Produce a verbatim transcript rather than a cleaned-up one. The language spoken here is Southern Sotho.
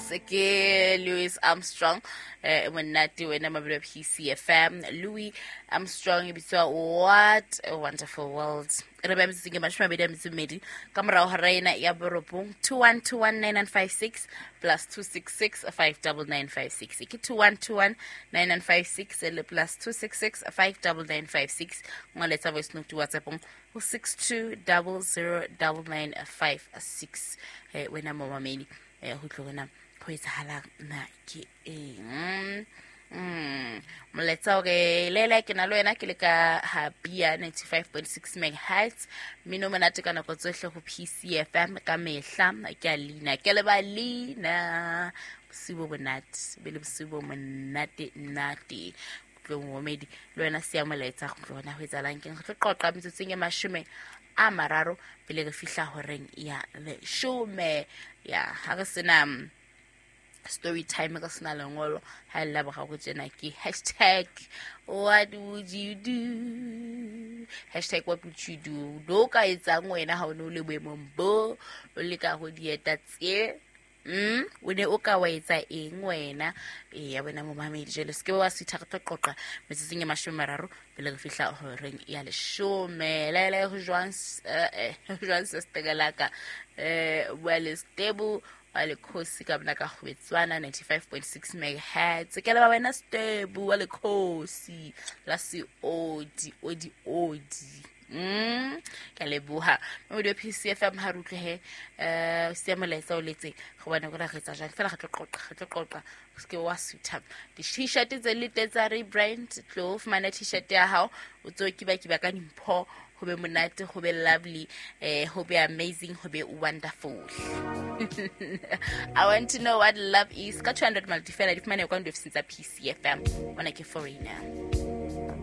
Yes, ke Louis Armstrong, eh monate wena mabelo P C F M. Louis Armstrong e bitswa What a Wonderful World. Re ba metseng ke mashome a mabedi a metso e mmedi ka morao hora ena ya borobong. Two one two one nine nine five six plus two six six five double nine five six. Ke two one two one nine nine five six le plus two six six five double nine five six. Ngoletsa voice note WhatsApp ho six two double zero double nine five six. Eh wena momamedi, eh ho tlo bona ho etsahalang na ke eng. Mm. Molaetsa hore lele ke na le wena ke le ka ha Bia ninety-five point six megahertz. Mmino monate ka nako tsohle ho P C F M ka mehla. Ke a leina, ke le ba leina. Bosiu bo monate, be le bosiu bo monate nate. Tlo momedi le wena siya molaetsa go tlo bona ho etsahalang keng. Re tlo qoqa metsotsong e mashome a mararo pele re fihla horeng ya leshome. Ya ha re sena story time ka sena lengolo ha le la boraro tjena ke hashtag what would you do, hashtag what would you do. Do ka etsang wena ha o ne o le boemong bo o le ka ho dieta tse? Mm, o ne o ka wa etsa eng wena? E ya wena momamedi, jwale se ke wa sitha, re tlo qoqa metsotsong e mashome a mararo pele re fihla horeng ya leshome. Le le ho jwang, eh, ho jwang sesterelaka, eh, bua le stable wa lekhosi ka bona ka kgwetswana ninety-five point six megahertz. Ke leba wena stable wa lekhosi la seodi odi odi. Mm, ke a leboha. Mme P C F M ha re utlwe he, eh, siya molaetsa o letseng, go bona gore re etsa jang. Fela re tlo qoqa, re tlo qoqa. O se ke wa sutha. Di-t-shirt tse le teng tsa rebrand, tlo fumana t-shirt ya hao, o tso kiba-kiba ka dimpho, ho be monate, ho be lovely, eh, ho be amazing, ho be wonderful. I want to know what love is. Ka two hundred multi fela di fumane kwa ofising tsa P C F M. Bona ke foreigner.